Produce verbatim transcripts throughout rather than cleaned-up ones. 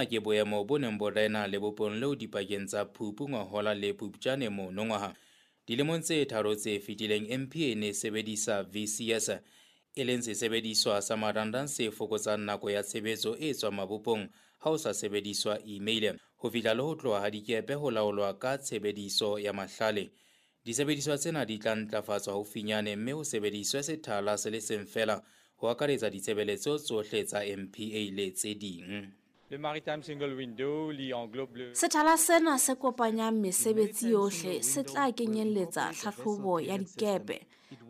Ke boemo bo neng bo rena lebopong leo dipakeng tsa Phupu ngwahola le Phupjane monongwaha. Dilemong tse tharo tse fetileng M P A e ne e sebedisa V C S, e leng sesebediswa sa marangrang se fokotsang nako ya tshebetso e tswang mabopong ha ho sa sebediswa email. Ho fihla le ho tloha ha dikepe ho laolwa ka tshebediso ya mahlale. Disebediswa tsena di tla ntlafatswa haufinyane mme ho sebediswe sethala se le seng feela ho akaretsa ditshebeletso tsohle tsa M P A le tse ding. Le Maritime Single Window li englobe le Sethala sena se kopanyang mesebetsi yohle se tla kenyelletsa tlhahlobo ya dikepe.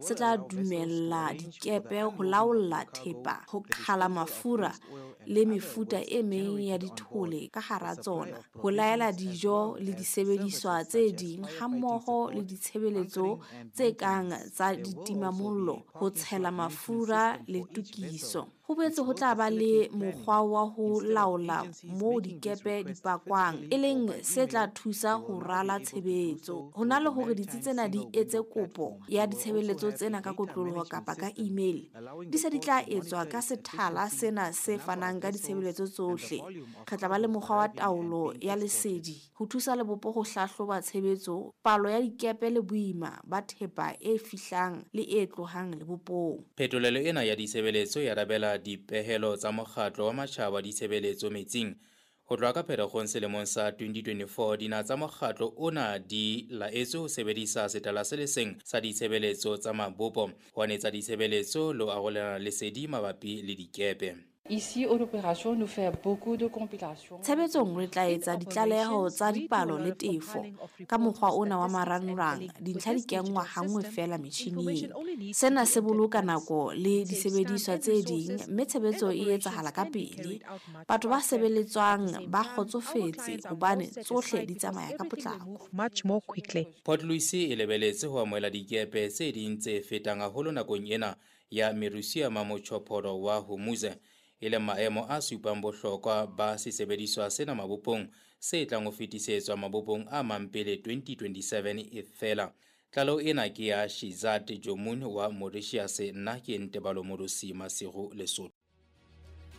Se tla dumella dikepe ho laolla thepa, ho qhala mafura le mefuta e meng ya dithole ka hara tsona, ho laela dijo le disebediswa tse ding hammoho le ditshebeletso tse kang tsa ditimamollo, ho tshela mafura le tokiso. Ho boetse ho tla ba le mokgwa wa ho laola moo dikepe di pakwang, e leng se tla thusa ho rala tshebetso. Ho na le hore ditsi tsena di etse kopo ya ditshebeletso tsena ka kotloloho kapa ka email, di se di tla etswa ka sethala sena se fanang ka ditshebeletso tsohle. Re tla ba le mokgwa wa taolo ya lesedi ho thusa lebopo ho hlahloba tshebetso, palo ya dikepe le boima ba thepa e fihlang le e tlohang lebopong. Phetolelo ena ya ditshebeletso e arabela dipehelo tsa Mokgatlo wa Matjhaba wa Ditshebeletso Metsing. Ho tloha ka Pherekgong selemong sa twenty twenty-four, dinaha tsa mokgatlo ona di laetswe ho sebedisa sethala se le seng sa ditshebeletso tsa mabopo ho anetsa ditshebeletso le ho arolelana lesedi mabapi le dikepe. Ici, en opération, nous fait beaucoup de compilations. Tshebetsong re tla etsa ditlaleho tsa dipalo le tefo. Ka mokgwa ona wa marangrang, dintlha di kenngwa hanngwe feela metjhining. Sena se boloka nako le disebediswa tse ding mme tshebetso e etsahala ka pele. Batho ba sebeletswang ba kgotsofetse hobane tsohle di tsamaya ka potlako. Much more quickly. Port Louis e lebeletse ho amohela dikepe tse ding tse fetang haholo nakong ena ya merusu ya Motjhophoro wa Hormuz, e leng maemo a supang bohlokwa ba sesebediswa sena mabopong se tlang ho fetisetswa mabopong a mang pele twenty twenty-seven e fela. Tlaleho ena ke ya Shizat Jomun wa Mauritius, nna ke Ntebalo Morusi Masiru, Lesotho.